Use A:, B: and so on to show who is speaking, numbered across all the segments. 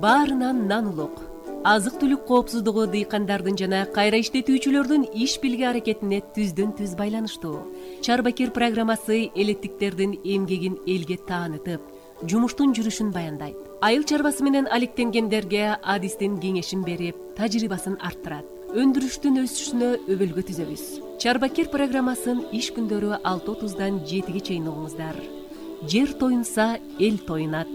A: Баарынан нан улук. Азык-түлүк коопсуздугу дыйкандардын жана кайра иштетүүчүлөрдүн иш бирге аракетине түздөн-түз байланыштуу. Чарбакир программасы элеттиктердин эмгегин элге таанытып, жумуштун жүрүшүн баяндайт. Айыл чарбасы менен алектенгендерге адистин кеңешин берип, тажрыйбасын арттырат. Өндүрүштүн өсүшүнө өбөлгө түзөбүз. Чарбакир программасын иш күндөрү 6:30-дан 7-ге чейин угуңуздар. Жер тоюнса, эл тоюнат.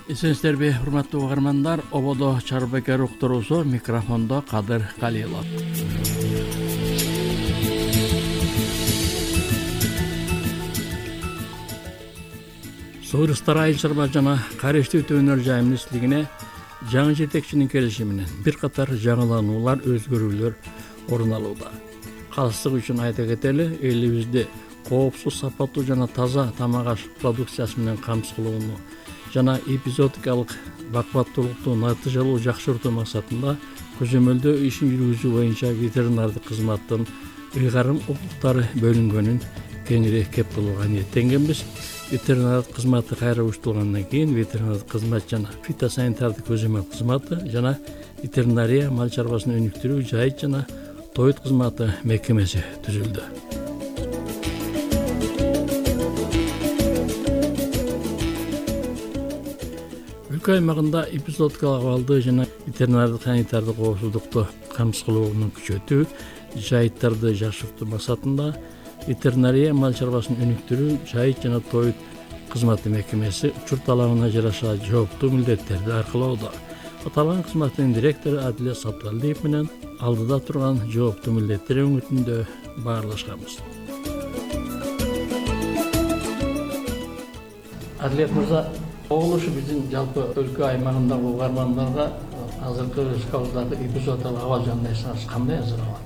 B: Эсенсиздерби, урматтуу угармандар, ободо Чарбакир уктуруусу, микрофондо Кадыр Калилов. Суурустар айыл чарба жана кайра иштетүү өнөр жай министрлигине жаңы жетекчинин келиши менен бир катар жаңылануулар, өзгөрүүлөр орун алууда. Калыстык үчүн айта кетели, элибизде коопсуз, сапаттуу жана таза тамак аш продукциясы менен камсыз кылууну жана эпизодикалык бакубаттуулукту натыйжалуу жакшыртуу максатында көзөмөлдөө ишин жүргүзүү боюнча ветеринардык кызматтын ыйгарым укуктары бөлүнгөнүн кеңири кеп кылууга ниеттенгенбиз. Ветеринардык кызматы кайра уюштурулгандан кийин ветеринардык кызмат жана фитосанитардык көзөмөл кызматы жана ветеринария мал чарбасын өнүктүрүү, жайыт жана тоют кызматы мекемеси түзүлдү. Өлкө аймагында эпизодикалык абалды жана ветеринардык санитардык коопсуздукту камсыз кылууну күчөтүү, жайыттарды жакшыртуу максатында ветеринария мал чарбасын өнүктүрүү, жайыт жана тоют кызматы мекемеси учур талабына жараша жооптуу милдеттерди аркалоодо. Аталган кызматтын директору Адилет Сатыбалдиев менен алдыда турган жооптуу милдеттер өңүтүндө баарлашканбыз. Адилет мырза, ушу биздин жалпы өлкө аймагындагы угармандарга азыркы республикабыздагы эпизодикалык абал жөнүндө айтсаңыз кандай азыр абал?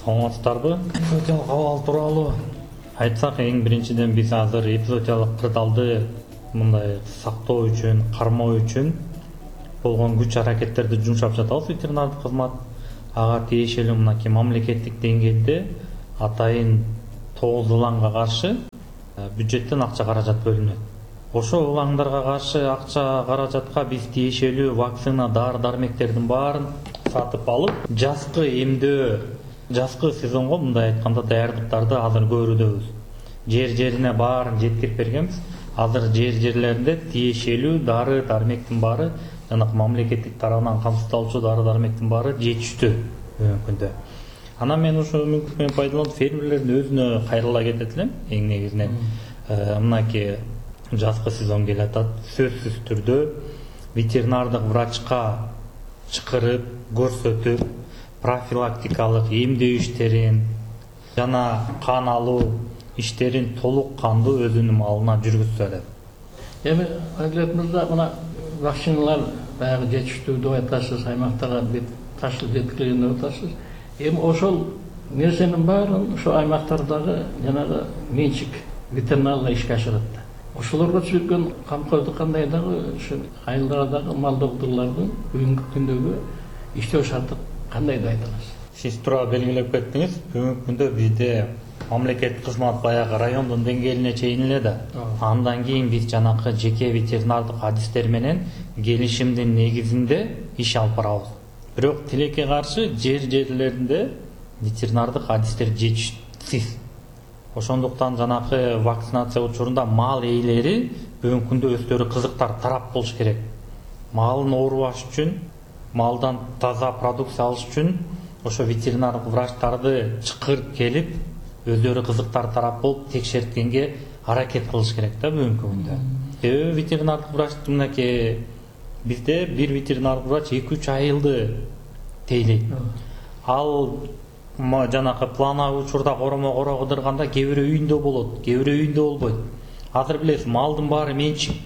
C: Саламатсыздарбы? Эпизодикалык абал тууралуу айтсак, эң биринчиден биз азыр эпизодикалык кырдаалды мындай сактоо үчүн, кармоо үчүн болгон күч аракеттерди жумшап жатабыз. Ветеринардык кызмат ага тиешелүү мынакей мамлекеттик деңгээлде атайын 9 ылаңга каршы бюджеттен акча каражат бөлүнөт. Ошол ылаңдарга каршы акча каражатка биз тиешелүү вакцина, дары-дармектердин баарын сатып алып, жазкы эмдөө, жазкы сезонго мындай айтканда даярдыктарды азыр көрүүдөбүз. Жер-жерине баарын жеткирип бергенбиз. Азыр жер-жерлеринде тиешелүү дары-дармектин баары, жана мамлекеттик тарабынан камсыздалуучу дары-дармектин баары жетиштүү күндө. Анан мен ошол мүмкүнчүлүктөн пайдаланып фермерлердин өзүнө кайрыла кетет элем. Эң негизинен мынакей жазкы сезон келатат. Сөзсүз түрдө ветеринардык врачка чакырып, көрсөтүп, профилактикалык эмдөө иштерин жана кан алуу иштерин толук кандуу өзүнүн малына жүргүзсө деп.
B: Эми Адилет мырза, мына вакциналар баягы жетиштүү деп айтасыз, аймактарга ташылып жеткирилген деп атасыз. Эми ошол нерсенин баарын ошо аймактардагы жанагы менчик ветеринарлар ишке ашырат да. Ошолорго түзүлгөн камкордук кандай дагы ушу айылдардагы мал доктурлардын бүгүнкү күндөгү иштөө шарты кандай деп айта аласыз?
C: Сиз туура белгилеп кеттиңиз. Бүгүнкү күндө бизде мамлекеттик кызмат баягы райондун деңгээлине чейин эле да. Андан кийин биз жанакы жеке ветеринардык адистер менен келишимдин негизинде иш алып барабыз. Бирок тилекке каршы жер-жерлеринде ветеринардык адистер жетишсиз. Ошондуктан жанакы вакцинация учурунда мал ээлери бүгүнкү күндө өздөрү кызыктар тарап болуш керек. Малын оорубаш үчүн, малдан таза продукция алыш үчүн ошо ветеринардык врачтарды чакырып келип, өздөрү кызыктар тарап болуп текшерткенге аракет кылыш керек да бүгүнкү күндө. Себеби ветеринардык врач мынакей бизде бир ветеринардык врач 2-3 айылды тейлейт. Ал жанакы плановый учурда коромо кыдырганда кээ бирөө үйүндө болот, кээ бирөө үйүндө болбойт. Азыр билесиз, малдын баары менчик.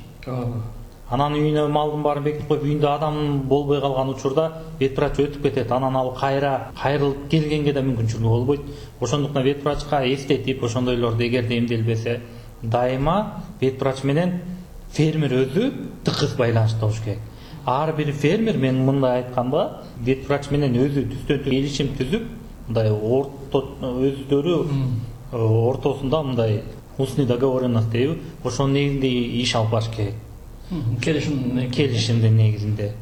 C: Анан үйүнө малдын баарын бекитип коюп, үйүндө адам болбой калган учурда ветврач өтүп кетет. Анан ал кайрылып келгенге да мүмкүнчүлүгү болбойт. Ошондуктан ветврачка эстетип, ошондойлорду эгерде эмделбесе, дайыма ветврач менен фермер өзү тыгыз байланышта болуш керек. Ар бир фермер, мен мындай айтканда, ветврач менен өзү түздөн келишим түзүп, мындай өздөрү ортосунда мындай устный договоренность дейби, ошонун негизинде иш алып барыш керек. Келишимдин негизинде.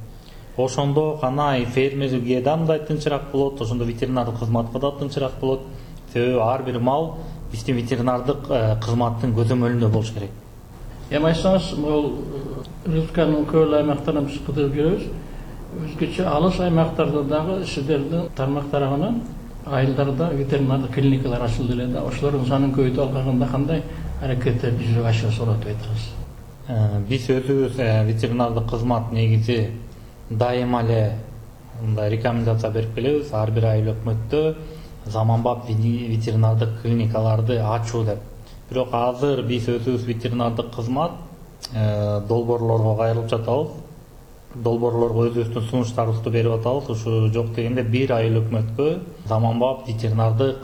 C: Ошондо гана фермерге да мындай тынчыраак болот, ошондо ветеринардык кызматка да тынчыраак болот. Себеби ар бир мал биздин ветеринардык кызматтын көзөмөлүндө болуш керек.
B: Эми айтсаңыз, бул республиканын көп аймактарынан биз кыдырып жүрөбүз. Өзгөчө алыс аймактарда дагы сиздердин тармак тарабынан айылдарда ветеринардык клиникалар ачылды эле да. Ошолордун санын көбөйтүп алганда кандай аракеттерди жүзөгө ашыра сурап айтыңыз.
C: Биз өзүбүз ветеринардык кызмат негизи дайыма эле мындай рекомендация берип келебиз ар бир айыл өкмөттө заманбап ветеринардык клиникаларды ачуу деп. Бирок азыр биз өзүбүз ветеринардык кызмат долбоорлорго кайрылып жатабыз. Долбоорлорго өзүбүздүн сунуштарыбызды берип атабыз. Ушу жок дегенде бир айыл өкмөткө заманбап ветеринардык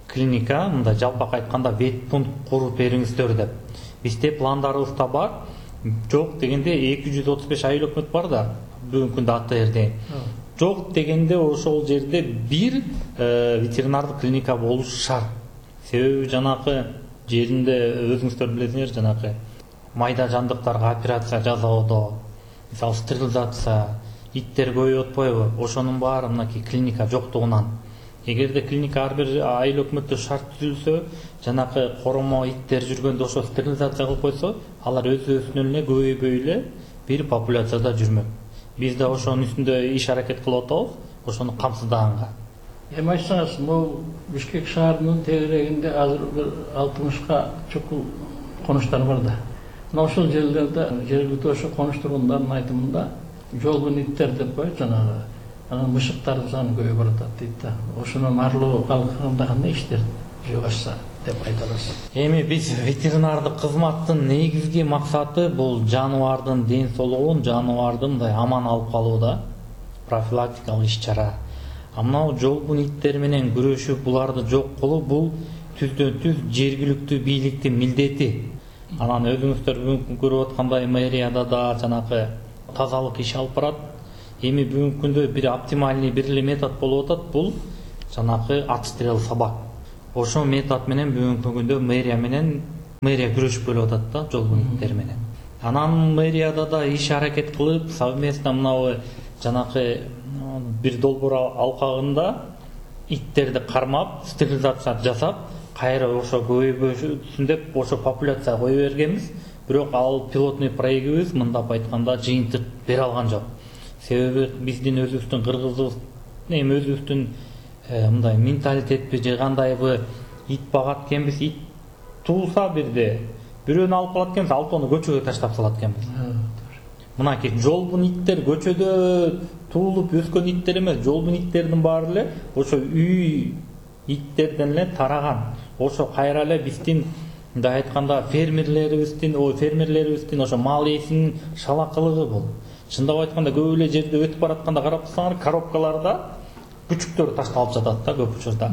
C: клиника, мындай жалпак айтканда ветпункт куруп бериңиздер деп. Бизде пландарыбызда бар. Жок дегенде 235 айыл өкмөт бар да бүгүнкү күндө АТРде. Жок дегенде ошол жерде бир ветеринардык клиника болушу шарт. Себеби жанакы жеринде өзүңүздөр билесиңер, жанакы майда жандыктарга операция жасоодо, мисалы стерилизация, иттер көбөйүп атпайбы? Ошонун баары мынакей клиника жоктугунан. Эгерде клиника ар бир айыл өкмөттө шарт түзүлсө, жанакы коромо иттер жүргөндө ошо стерилизация кылып койсо, алар өз-өзүнөн эле көбөйбөй эле бир популяцияда жүрмөк. Биз да ошонун үстүндө иш аракет кылып атабыз, ошону камсыздаганга.
B: Эми айтсаңыз, бул Бишкек шаарынын тегерегинде азыр бир 60га чукул конуштар бар да. Мына ошол жерлерде жергиликтүү ошо конуш тургундардын айтымында жолбун иттер деп коет, жанагы анан мышыктардын саны көбөйүп баратат дейт да. Ошонун арлоо калкында кандай иштер жүзөгө ашса деп айта аласыз.
C: Эми биз ветеринардык кызматтын негизги максаты бул жаныбардын ден соолугун, жаныбардын мындай аман алып калууда, профилактикалык иш-чара. Мына жолбун иттер менен күрөшүп буларды жок кылуу бул түздөн-түз жергиликтүү бийликтин милдети. Анан өзүңүздөр бүгүн көрүп аткандай мэрияда да жанакы тазалык иш алып барат. Эми бүгүнкү күндө бир оптимальный бир эле метод болуп атат, бул жанакы отстрел собак. Ошол метод менен бүгүнкү күндө мэрия күрөшүп келип атат да жолбун иттер менен. Анан мэрияда да иш аракет кылып, совместно мынабы жанакы бир долбоор алкагында иттерди кармап, стерилизация жасап, кайра ошо көбөйбөсүн деп ошо популяция кое бергенбиз. Бирок ал пилотный проектибиз мындап айтканда жыйынтык бере алган жок. Себеби биздин өзүбүздүн кыргызыбыз, эми өзүбүздүн мындай менталитетпи же кандайбы ит багат экенбиз, ит туулса бирде бирөөнү алып калат экенбиз, алтоону көчөгө таштап салат экенбиз. Мынакей жолбун иттер көчөдө туулуп өскөн иттер эмес, жолбун иттердин баары эле ошо үй иттерден эле тараган. Ошо кайра эле биздин мындай айтканда фермерлерибиздин ошо мал ээсинин шалакылыгы бул. Чындап айтканда көп эле жерде өтүп баратканда карап турсаңар, коробкаларда күчүктөр ташталып жатат да көп учурда.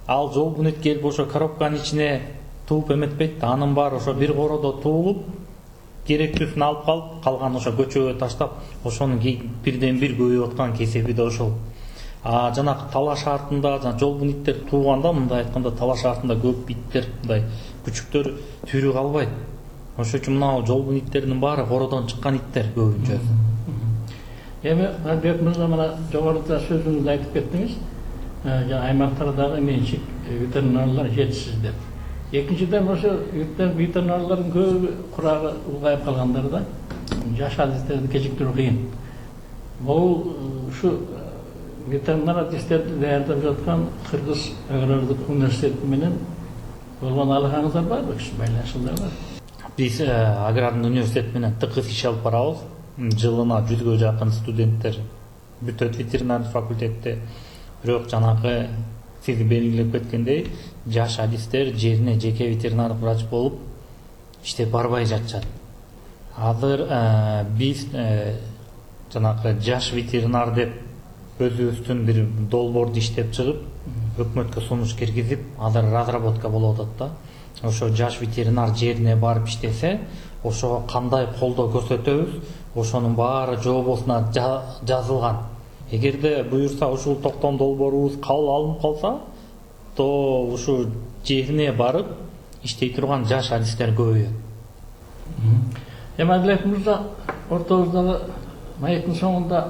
C: Ал жолбун ит келип ошо коробканын ичине тууп эметпейт да, анын баары ошо бир коrodо туулуп, керектүүсүн алып калып, калган ошо көчөгө таштап, ошонун бирден бир көбөйүп аткан кесеби да ошол. Жанакы талаш артында жолбун иттер тууганда, мындай айтканда талаш артында көп иттер, мындай күчүктөр түйрү калбайт. Ошон үчүн мына жолбун иттердин баары кородон чыккан иттер көбүнчө.
B: Эми Албек мырза, мына жогоруда сөзүңүздү айтып кеттиңиз, аймактардагы менчик ветеринарлар жетишсиз деп. Экинчиден ошо ветеринарлардын көбү курагы улгайып калгандар да, жаш адистерди кечиктирүү кыйын. Бул ушу ветеринар адистерди даярдап жаткан Кыргыз агрардык университети менен болгон алакаңыздар барбы, байланышыңыздар бар?
C: Биз агрардын университети менен тыкыз иш алып барабыз. Жылына 100га жакын студенттер бүтөт ветеринардык факультетте. Бирок жанакы сиз белгилеп кеткендей, жаш адистер жерине жеке ветеринардык врач болуп иштеп барбай жатышат. Азыр биз жанакы жаш ветеринар деп өзүбүздүн бир долбоорду иштеп чыгып, өкмөткө сунуш киргизип, азыр разработка болуп атат да. Ошо жаш ветеринар жерине барып иштесе, ошого кандай колдоо көрсөтөбүз, ошонун баары жообосуна жазылган. Эгерде буюрса ушул токтом долбоорубуз кабыл алынып калса, то ушу жерине барып иштей турган жаш адистер көбөйөт.
B: Эми Адилет мырза, ортобуздагы маектин соңунда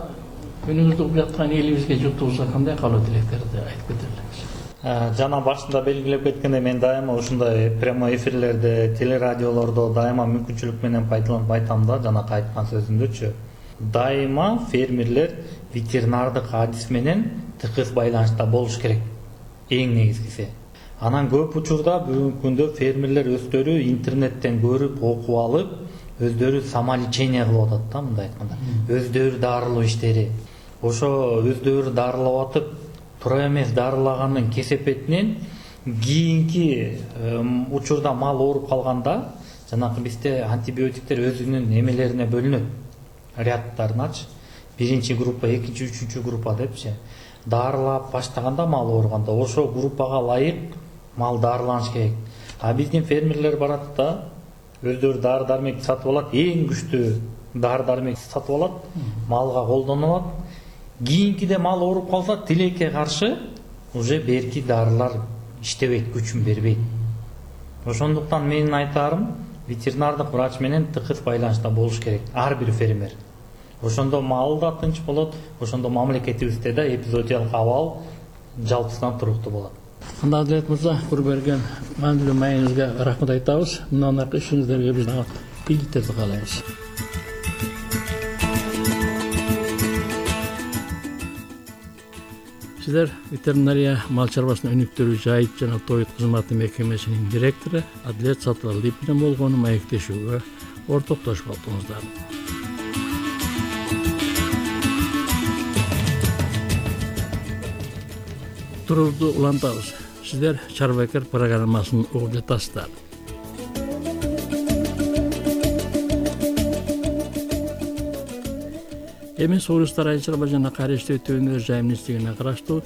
B: күнүңүздү угуп жаткан элибизге журтубузга кандай каалоо тилектерди айтып кетерлиңиз?
C: Жана башында белгилеп кеткендей, мен дайыма ушундай прямой эфирлерде, телерадиолордо дайыма мүмкүнчүлүк менен пайдаланып айтам да, жанакы айткан сөзүмдөчү. Дайыма фермерлер ветеринардык адис менен тыгыз байланышта болуш керек. Эң негизгиси. Анан көп учурда бүгүнкү күндө фермерлер өздөрү интернеттен көрүп, окуп алып, өздөрү самолечение кылып атат да, мындай айтканда. Өздөрү дарылоо иштери. Ошо өздөрү дарылап атып, тура эмес дарылагандын кесепетинен кийинки учурда мал ооруп калганда, жанакы бизде антибиотиктер өзүнүн эмелерине бөлүнөт. Рядтарыначы. Биринчи группа, экинчи, үчүнчү группа депчи. Дарылап баштаганда мал ооруганда ошо группага ылайык мал дарыланыш керек. А биздин фермерлер барат да, өздөрү дары дармекти сатып алат, эң күчтүү дары дармекти сатып алат, малга колдонуп алат. Кийинкиде мал ооруп калса, тилекке каршы уже берки дарылар иштебейт, күчүн бербейт. Ошондуктан менин айтарым, ветеринардык врач менен тыгыз байланышта болуш керек ар бир фермер. Ошондо мал да тынч болот, ошондо мамлекетибизде да эпизоотиялык абал жалпысынан туруктуу болот.
B: Анда Адилет мырза, кур берген маанилүү маегиңизге рахмат айтабыз. Мындан аркы ишиңиздерге биз ийгиликтерди каалайбыз. Сиздер ветеринария мал чарбасынын өнүктүрүү, жайыт жана тоют кызматы мекемесинин директору Адилет Сатыбалдиев менен болгон маектешүүгө ортоктошуп алдыңыздар. Турурду улантабыз. Сиздер Чарбакер программасын угуп жатасыздар. Эми Согулустар айыл чарба жана кайра иштетүү өнөр министрлигине караштуу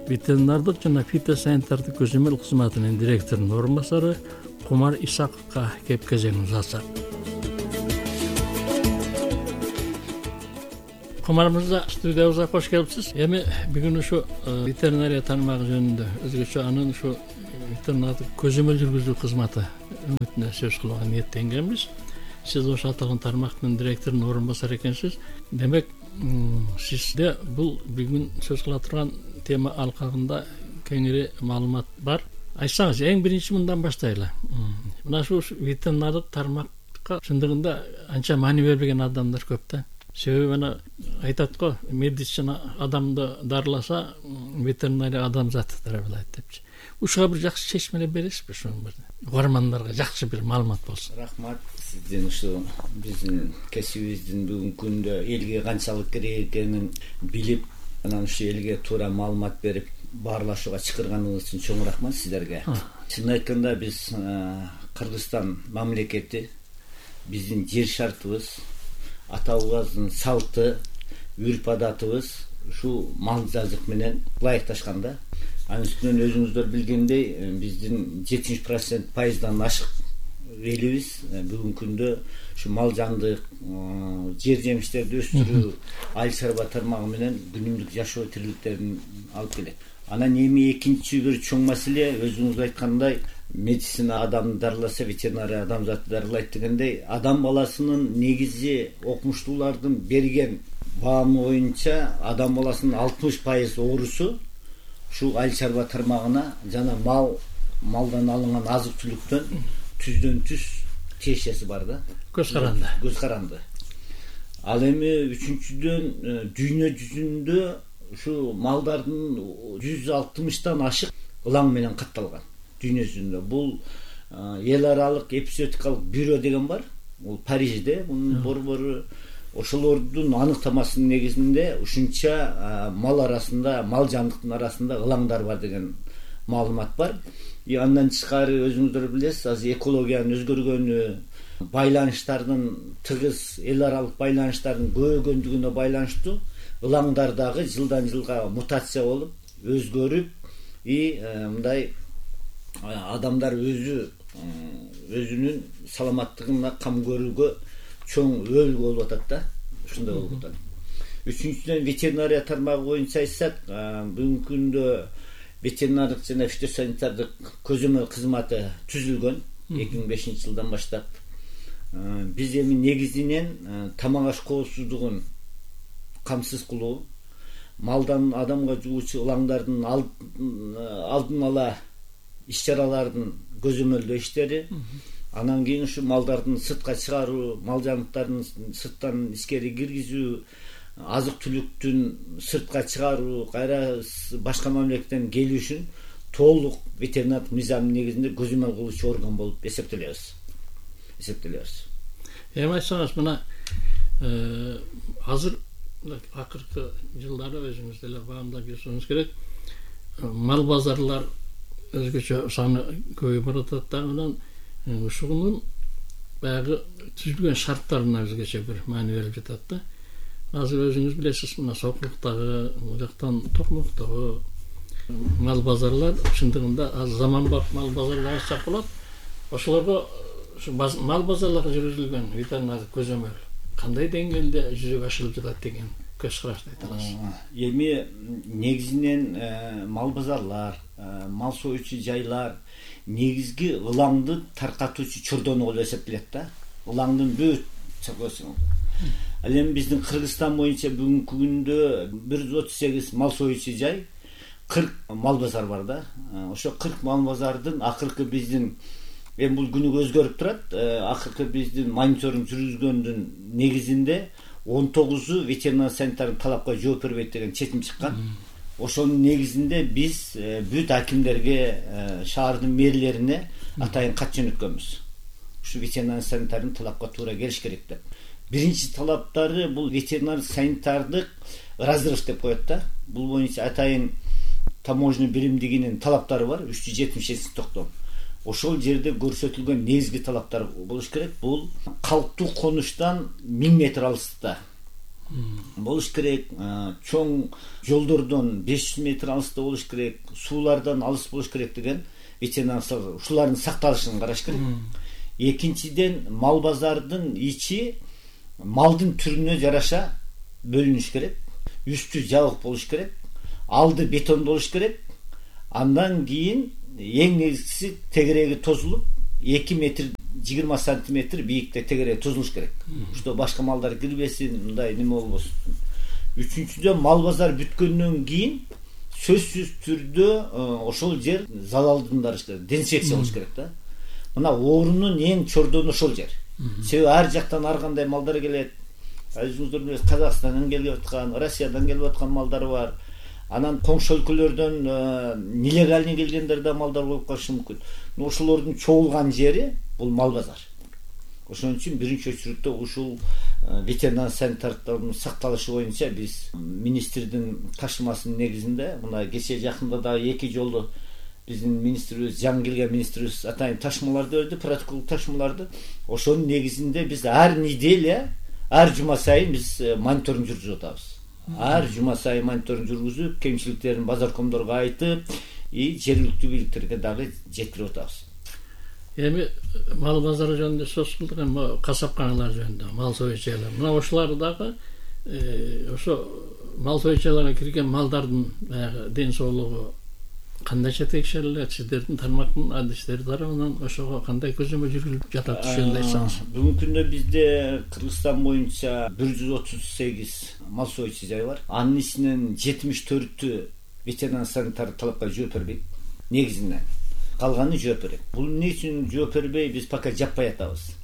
B: ветеринардык жана фитосанитардык көзөмөл кызматынын директорунун орун басары Кумар Исаковго кеп кезегин узатсак. Кумар мырза, студиябызга кош келипсиз. Эми бүгүн ушу ветеринария тармагы жөнүндө өзгөчө анын ушу ветеринардык көзөмөл жүргүзүү кызматы үмүтүнө сөз кылууга ниеттенгенбиз. Сиз ошо аталган тармактын директорунун орун басары экенсиз. Демек, сизде бул бүгүн сөз кыла турган тема алкагында кеңири маалымат бар. Айтсаңыз, эң биринчи мындан баштайлы. Мына ушу ветеринардык тармакка чындыгында анча маани бербеген адамдар көп да. Себеби мына айтат го, медицина адамды дарыласа, ветеринария адам заты дарылайт депчи. Ушуга бир жакшы чечмелеп бересизби ушуну? Угармандарга жакшы бир маалымат болсун.
D: Рахмат. Сиздин ушу биздин кесибибиздин бүгүнкү күндө элге канчалык керек экенин билип, анан ушу элге туура маалымат берип, баарлашууга чакырганыңыз үчүн чоң рахмат сиздерге. Чын айтканда биз Кыргызстан мамлекети, биздин жер шартыбыз, ата-бабабыздын салты, үрп адатыбыз ушу мал жазык менен ылайыкташканда. Анын үстүнөн өзүңүздөр билгендей, биздин 70% ашык элибиз бүгүнкү күндө ушу мал жандык, жер жемиштерди өстүрүү, айыл чарба тармагы менен күнүмдүк жашоо тириликтерин алып келет. Анан эми экинчи бир чоң маселе, өзүңүз айткандай, медицина адамды дарыласа, ветеринария адам заты дарылайт дегендей, адам баласынын негизи окумуштуулардын берген баамы боюнча адам баласынын 60% оорусу ушу айыл чарба тармагына жана малдан алынган азык түлүктөн түздөн түз тиешеси бар да.
B: Көз каранды.
D: Көз каранды. Ал эми үчүнчүдөн дүйнө жүзүндө ушу малдардын 160тан ашык ылаң менен катталган. Дүйнө жүзүндө бул эл аралык эпизоотикалык бюро деген бар. Бул Парижде, мунун борбору ошолордун аныктамасынын негизинде ушунча мал арасында, мал жандыктын арасында ылаңдар бар деген маалымат бар. Андан тышкары өзүңүздөр билесиз, азыр экологиянын өзгөргөнү, байланыштардын тыгыз эл аралык байланыштардын көбөйгөндүгүнө байланыштуу ылаңдар дагы жылдан жылга мутация болуп, өзгөрүп, мындай адамдар өзүнүн саламаттыгына кам көрүүгө чоң өөлгө болуп атат да. Ушундай болуп атат. Үчүнчүдөн ветеринария тармагы боюнча айтсак, бүгүнкү күндө ветеринардык жана фитосанитардык көзөмөл кызматы түзүлгөн 2005-жылдан баштап. Биз эми негизинен тамак аш коопсуздугун камсыз кылуу, малдан адамга жугуучу ылаңдардын алдын ала иш-чаралардын көзөмөлдөө иштери, анан кийин ушу малдардын сыртка чыгаруу, мал жаныктарын сырттан ичкери киргизүү, азык-түлүктүн сыртка чыгаруу, кайра башка мамлекеттен келишин толук ветеринардык мыйзамдын негизинде көзөмөл кылуучу орган болуп эсептелебиз.
B: Эми айтсаңыз, мына азыр акыркы жылдары өзүңүз деле баамдап жүрсөңүз керек, мал базарлар өзгөчө саны көбөйүп баратат да, анан ушунун баягы түзүлгөн шарттарына өзгөчө бир маани берип жатат да. Азыр өзүңүз билесиз, мына Сокулуктагы, бул жактан Токмоктогу мал базарлар чындыгында заманбап мал базарлар айтсак болот. Ошолорго мал базарларга жүргүзүлгөн ветеринардык көзөмөл кандай деңгээлде жүзөгө ашырылып жатат деген көз карашты айтыңыз.
D: Эми негизинен мал базарлар, мал союучу жайлар негизги ылаңды таркатуучу чордону болуп эсептелет да. Ылаңдын бүт чокосун. Ал эми биздин Кыргызстан боюнча бүгүнкү күндө 138 мал союучу жай, 40 мал базар бар да. Ошо 40 мал базардын акыркы биздин эми бул күнүгө өзгөрүп турат. Акыркы биздин мониторинг жүргүзгөндүн негизинде 19 ветеринар санитардык талапка жооп бербейт деген чечим чыккан. Ошонун негизинде биз бүт акимдерге, шаардын мэрлерине атайын кат жөнөткөнбүз. Ушу ветеринар санитардык талапка туура келиш керек деп. Биринчи талаптары бул ветеринар санитардык разрыв деп коет да. Бул боюнча атайын таможня биримдигинин талаптары бар, 377 токтом. Ошол жерде көрсөтүлгөн негизги талаптар болуш керек. Бул калктуу конуштан 1000 метр алыстыкта болуш керек, чоң жолдордон 500 метр алыста болуш керек, суулардан алыс болуш керек деген ветеринар ушулардын сакталышын караш керек. Экинчиден, мал базардын ичи малдын түрүнө жараша бөлүнүш керек. Үстү жабык болуш керек, алды бетон болуш керек. Андан кийин эң негизгиси тегереги тозулуп 2 метр 20 сантиметр бийикте тегереги тозулуш керек. Ушто башка малдар кирбесин, мындай неме болбосун. Үчүнчүдөн, мал базар бүткөндөн кийин сөзсүз түрдө ошол жер залалдандырыш керек, дезинфекция болуш керек да. Мына оорунун эң чордону ошол жер. Себеби ар жактан ар кандай малдар келет. Өзүңүздөр билесиз, Казакстандан келип аткан, Россиядан келип аткан малдар бар. Анан коңшу өлкөлөрдөн нелегальный келгендер да малдар болуп калышы мүмкүн. Ошолордун чогулган жери бул мал базар. Ошон үчүн биринчи очередте ушул ветеринар санитардын сакталышы боюнча биз министрдин ташымасынын негизинде, мына кече жакында да 2 жолу биздин министрибиз, жаңы келген министрибиз атайын ташмаларды берди, протокол ташмаларды. Ошонун негизинде биз ар неделя, ар жума сайын биз мониторинг жүргүзүп атабыз. Ар жума сайын мониторинг жүргүзүп, кемчиликтерин базаркомдорго айтып, жергиликтүү бийликтерге дагы жеткирип атабыз.
B: Эми мал базары жөнүндө сөз кылдык, эми касапканалар жөнүндө, мал союучайлар. Мына ошолар дагы ошо мал союучайларга кирген малдардын ден соолугу кандайча текшерилет, сиздердин тармактын адистери тарабынан ошого кандай көзөмөл жүргүзүлүп жатат, ушундай айтсаңыз.
D: Бүгүнкү күндө бизде Кыргызстан боюнча 138 мал союучу жай бар. Анын ичинен 74-тү ветеринар санитардык талапка жооп бербейт. Негизинен калганы жооп берет. Бул эмне үчүн жооп бербей, биз пока жаппай атабыз.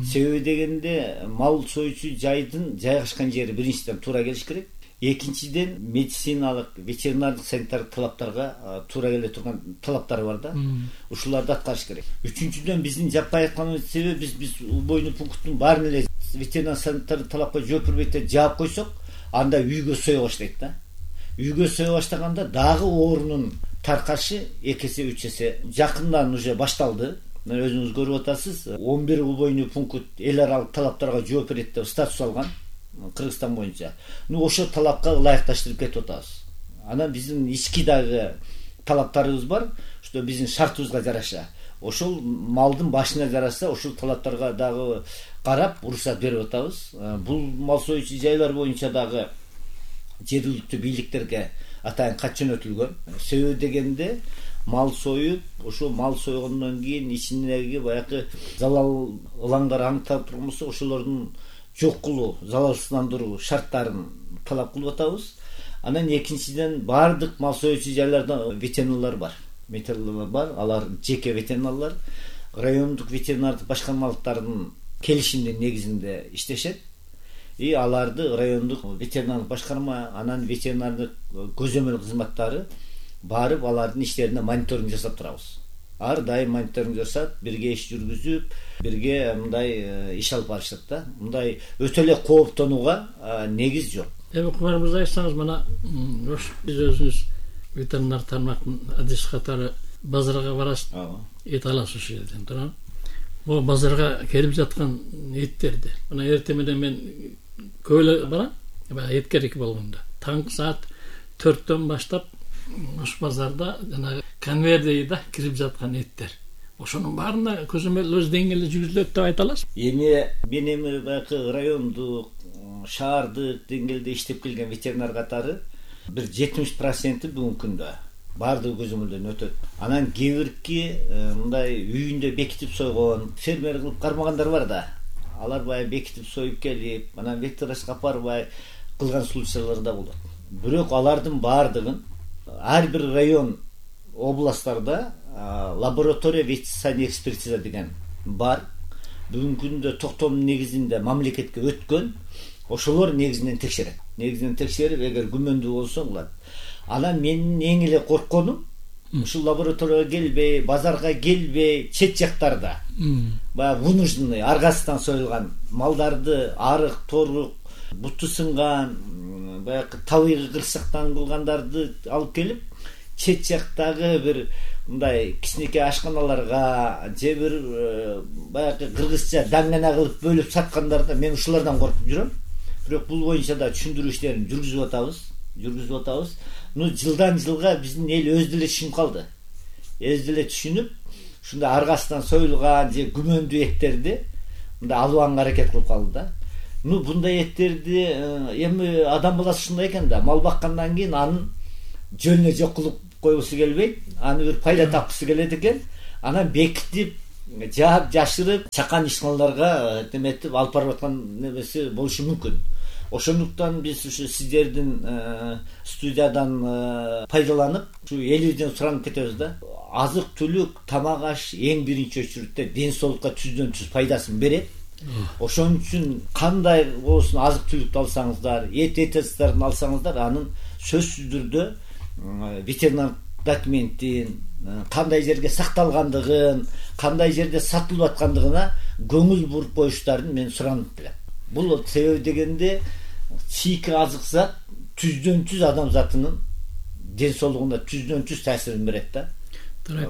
D: Себеби дегенде мал союучу жайдын жайгашкан жери биринчиден туура келиш керек. Экинчиден, медициналык, ветеринардык санитардык талаптарга туура келе турган талаптары бар да. Ушуларды аткарыш керек. Үчүнчүдөн, биздин жаппай атканыбыздын себеби биз убойну пункттун баарын эле ветеринар санитардык талапка жооп бербейт деп жаап койсок, анда үйгө сое баштайт да. Үйгө сое баштаганда дагы оорунун таркашы 2 эсе 3 эсе жакындан уже башталды. Өзүңүз көрүп атасыз, 11 убойну пункт эл аралык талаптарга жооп берет деп статус алган. Кыргызстан боюнча. Ошо талапка ылайыкташтырып кетип атабыз. Анан биздин ички дагы талаптарыбыз бар, что биздин шартыбызга жараша. Ошол малдын башына жараша, ошол талаптарга дагы карап, уруксат берип атабыз. Бул мал союучу жайлар боюнча дагы жергиликтүү бийликтерге атайын кат жөнөтүлгөн. Себеби дегенде мал союп, ошо мал сойгондон кийин ичиндеги баягы залал ылаңдар аныктап турмусу ошолордун жок кылуу, залалсыздандыруу шарттарын талап кылып атабыз. Анан экинчиден бардык мал союучу жайларда ветеринарлар бар. Алар жеке ветеринарлар, райондук ветеринардык башкармалыктардын келишимдин негизинде иштешет. Аларды райондук ветеринардык башкарма, анан ветеринардык көзөмөл кызматтары барып алардын иштерине мониторинг жасап турабыз. Ар дайым мониторинг жасап, бирге иш жүргүзүп, бирге мындай иш алып барышат да. Мындай өтө эле кооптонууга негиз жок.
B: Кумар мырза, айтсаңыз, мына биз өзүңүз ветеринар тармактын адис катары базарга барасыз, эт аласыз ошол жерден, туура. Бул базарга келип жаткан эттерди мына эртең менен мен көп эле барам, эт керек болгондо. Таңкы саат 4-төн баштап ош базарда жана конвейер да кирип жаткан эттер. Ошонун баарына көзөмөл өз деңгээлде жүргүзүлөт деп айта аласыз?
D: Мен баягы райондук, шаардык деңгээлде иштеп келген ветеринар катары бир 70% бүгүнкү күндө баардык көзөмөлдөн өтөт. Анан кээ бирки мындай үйүндө бекитип сойгон, фермер кылып кармагандар бар да. Алар баягы бекитип союп келип, анан ветврачка апарбай кылган случайлар да болот. Бирок алардын баардыгын ар бир район, областтарда лаборатория ветеринарный экспертиза деген бар. Бүгүнкү күндө токтом негизинде мамлекетке өткөн, ошолор негизинен текшерет. Негизинен текшерип, эгер күмөндүү болсо кылат. Анан менин эң эле коркконум ушул лабораторияга келбей, базарга келбей, чет жактарда баягы вынужденный аргасынан союлган малдарды арык, торук, буту сынган, баягы табигый кырсыктан кылгандарды алып келип, чет жактагы бир мындай кичинекей ашканаларга же бир баягы кыргызча даңгана кылып бөлүп саткандарды мен ушулардан коркуп жүрөм. Бирок бул боюнча да түшүндүрүү иштерин жүргүзүп атабыз. Жылдан жылга биздин эл өзү деле түшүнүп калды. Өзү деле түшүнүп, ушундай аргасынан союлган же күмөндүү эттерди мындай алганга аракет кылып калды да. Bunday ettirdi, эми адам баласы ушундай экен да, мал баккандан кийин анын жөнүнө жок кылып койгусу келбейт, аны бир пайда тапкысы келет экен, анан бекитип, жаап, жашырып, чакан ишканаларга неметип алып барып аткан немеси болушу мүмкүн. Ошондуктан биз ушу сиздердин студиядан пайдаланып, ушу элибизден суранып кетебиз да. Азык-түлүк, тамак аш эң биринчи очередде ден соолукка түздөн-түз пайдасын берет. Ошон үчүн кандай болсун азык-түлүктү алсаңыздар, эт-этастарын алсаңыздар, анын сөзсүз түрдө ветеринар документин, кандай жерге сакталгандыгын, кандай жерде сатылып аткандыгына көңүл буруп коюштарын мен суранып келем. Бул себеби дегенде чийки азык зат түздөн-түз адам затынын ден соолугуна түздөн-түз таасирин берет да.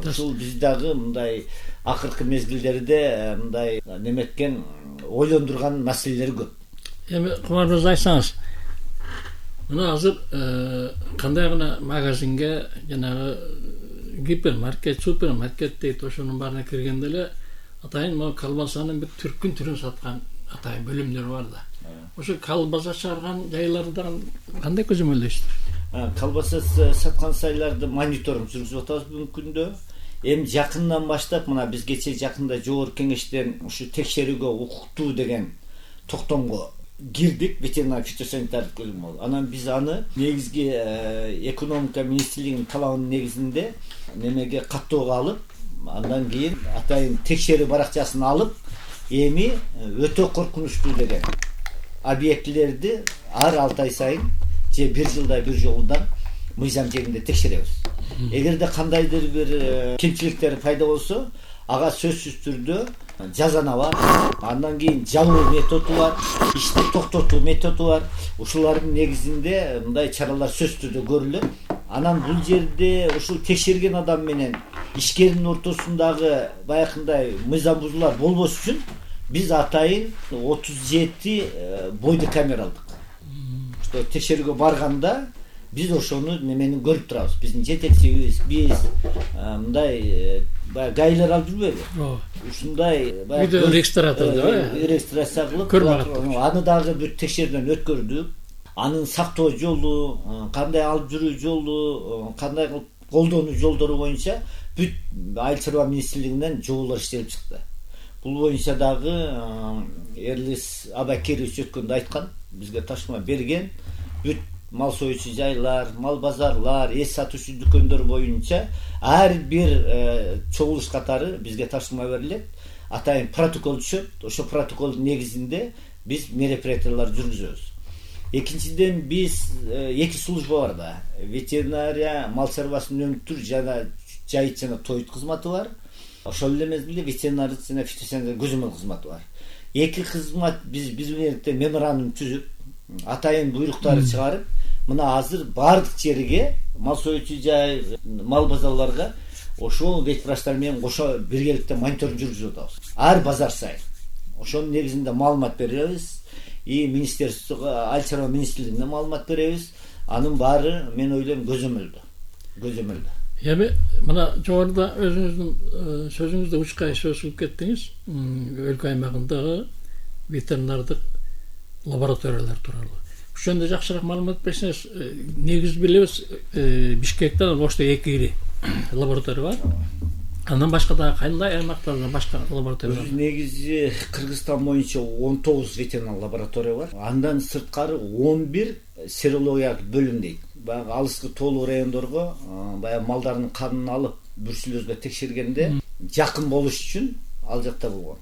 D: Ушул биз дагы мындай акыркы мезгилдерде мындай неметкен ойлондурган маселелер көп.
B: Эми Кумар мырза айтсаңыз, мына азыр кандай гана магазинге, жанагы гипермаркет, супермаркет дейт, ошонун баарына киргенде эле атайын могу колбасанын бир түркүн саткан атайын бөлүмдөр бар да. Ошо колбаса чыгарган жайлардан кандай көзөмөлдөйсүздөр?
D: Колбаса саткан сайларды мониторинг жүргүзүп атабыз бүгүнкү күндө. Эми жакындан баштап мына биз кечээ жакында жогорку кеңештен ушу текшерүүгө укуктуу деген токтомго кирдик, ветеринар фитосанитардык бөлүм болду. Анан биз аны негизги экономика министрлигинин талабынын негизинде немеге каттоого алып, андан кийин атайын текшерүү баракчасын алып, эми өтө коркунучтуу деген объектилерди ар 6 ай сайын же 1 жылда бир жолудан мыйзам жегинде текшеребиз. Эгерде кандайдыр бир кемчиликтер пайда болсо, ага сөзсүз түрдө жазана бар. Андан кийин жабуу методу бар, ишти токтотуу методу бар. Ушулардын негизинде мындай чаралар сөзсүз түрдө көрүлөт. Анан бул жерде ушул текшерген адам менен ишкердин ортосундагы баягындай мыйзам бузуулар болбош үчүн биз атайын 37 бойду камера алдык. Что текшерүүгө барганда биз ошону неменин көрүп турабыз. Биздин жетекчибиз, биз мындай гайлер алып жүрбөйбү? Ушундай
B: регистратор деп,
D: регистрация кылып, аны дагы бир текшерүүдөн өткөрдүк. анын сактоо жолу, кандай алып жүрүү жолу, кандай кылып колдонуу жолдору боюнча бүт айыл чарба министрлигинен жоболор иштелип чыкты. Бул боюнча дагы Эрлис Абакирович өткөндө айткан, бизге ташма берген. Бүт мал союучу жайлар, мал базарлар, эс сатуучу дүкөндөр боюнча ар бир чогулуш катары бизге ташма берилет. Атайын протокол түшөт. Ошо протоколдун негизинде биз мероприятиялар жүргүзөбүз. Экинчиден биз эки служба бар да. Ветеринария, мал чарбасын өнүктүрүү жана жайыт жана тоют кызматы бар. Ошол эле мезгилде ветеринария жана фитосанитария көзөмөл кызматы бар. Эки кызмат биз менен меморандум түзүп, атайын буйруктарды чыгарып, мына азыр бардык жерге, мал союучу жай, мал базарларга ошол ветврачтар менен кошо биргеликте мониторинг жүргүзүп атабыз. Ар базар сайын. Ошонун негизинде маалымат беребиз. Министерствого, айыл чарба министрлигине маалымат беребиз. Анын баары мен ойлойм көзөмөлдө.
B: Эми мына жогоруда өзүңүздүн сөзүңүздө учкай сөзүлүп кеттиңиз. Өлкө аймагындагы ветеринардык лабораториялар тууралуу. Ошондо жакшыраак маалымат берсеңиз, негиз билебиз, Бишкектен Ошто 2 ири лаборатория бар. Андан башка дагы кандай аймактарда башка лаборатория бар?
D: Негизи Кыргызстан боюнча 19 ветеринар лаборатория бар. Андан сырткары 11 серологиялык бөлүм дейт. Баягы алыскы тоолуу райондорго баягы малдардын канын алып бүрсүлөзгө текшергенде жакын болуш үчүн ал жакта болгон.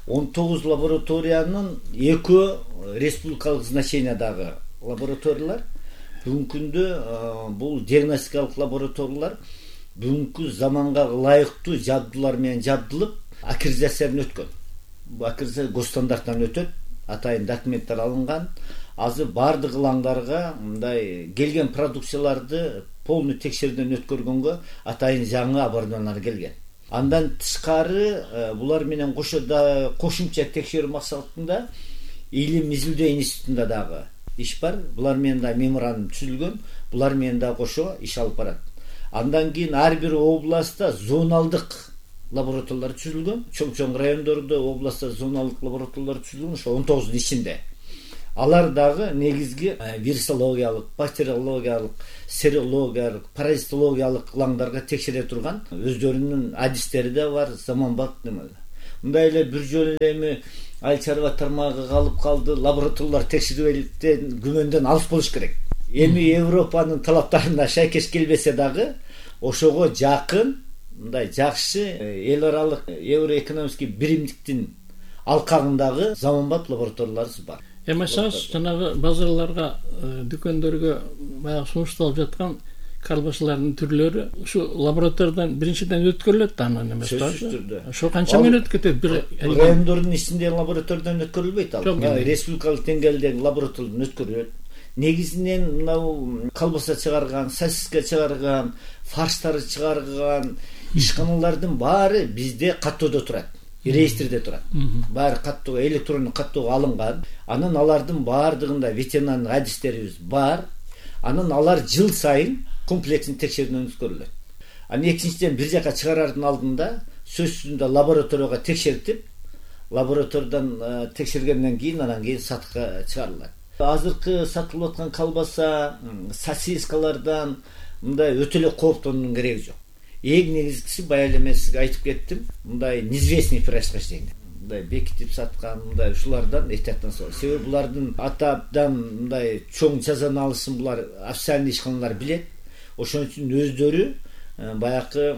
D: 19 лабораториянын 2 республикалык значениядагы лабораториялар. Бүгүнкү күндө бул диагностикалык лабораториялар бүгүнкү заманга ылайыктуу жабдуулар менен жабдылып, аккредитациядан өткөн. Бул аккредитация госстандарттан өтөт, атайын документтер алынган. Азыр бардык ылаңдарга мындай келген продукцияларды полный текшерүүдөн өткөргөнгө атайын жаңы оборудованиялар келген. Андан тышкары булар менен кошумча текшерүү максатында Илим Изилдөө институтунда дагы иш бар. Булар менен да меморандум түзүлгөн. Булар менен да кошо иш алып барат. Андан кийин ар бир областта зоналдык лабораториялар түзүлгөн. Чоң райондордо областта зоналдык лабораториялар түзүлгөн. Ошо 19 ичинде. Алар дагы негизги вирусологиялык, бактериологиялык, серологиялык, паразитологиялык ылаңдарга текшере турган өздөрүнүн адистери да бар, заманбап немелер. Мындай эле бир жолу эми айыл чарба тармагы калып калды, лабораториялар текшерүүтен күмөндөн алыс болуш керек. Эми Европанын талаптарына шайкеш келбесе дагы ошого жакын мындай жакшы эл аралык евроэкономический биримдиктин алкагындагы заманбап лабораторияларыбыз бар.
B: Эмасаңыз жанагы базарларга, дүкөндөргө баягы сунушталып жаткан колбасалардын түрлөрү ушу лабораториядан биринчиден өткөрүлөт да анан эмес да. Ошо канча мүнөт кетет бир
D: райондордун ичинде лабораториядан өткөрүлбөйт ал. Республикалык деңгээлдеги лабораториядан өткөрүлөт. Негизинен мынау колбаса чыгарган, сосиска чыгарган, фарштарды чыгарган ишканалардын баары бизде каттоодо турат. Реестрде турат. Баары каттоо, электрондук каттоого алынган. Анан алардын баардыгында ветеринардык адистерибиз бар. Анан алар жыл сайын комплекстин текшерүүдөн өткөрүлөт. Анан экинчиден бир жака чыгарардын алдында сөзсүз түрдө лабораторияга текшертип, лабораториядан текшергенден кийин анан кийин сатыкка чыгарылат. Азыркы сатылып аткан колбаса, сосискалардан мындай өтө эле кооптонуунун кереги жок. Эң негизгиси бая эле мен сизге айтып кеттим, мындай неизвестный происхождение. Мындай бекитип саткан, мындай ушулардан эhtiyattan сол. Себеби булардын атадан мындай чоң жазаны алышын булар официальный ишканалар билет. Ошон үчүн өздөрү баякы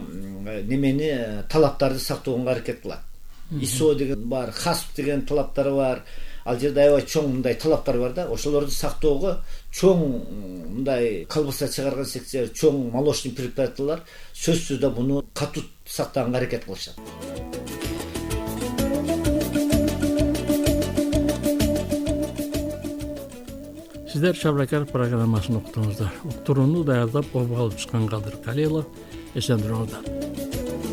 D: немени талаптарды сактоого аракет кылат. ISO деген бар, HACCP деген талаптары бар. Ал жерде аябай чоң мындай талаптар бар да, ошолорду сактоого чоң мындай колбаса чыгарган секция, чоң молочный предприятиялар сөзсүз да буну катуу сактаганга аракет кылышат.
B: Сиздер Шабракар программасын уктуңуздар. Уктурууну даярдап, обо алып чыккан Кадыр Калилов. Эсен туруңуздар.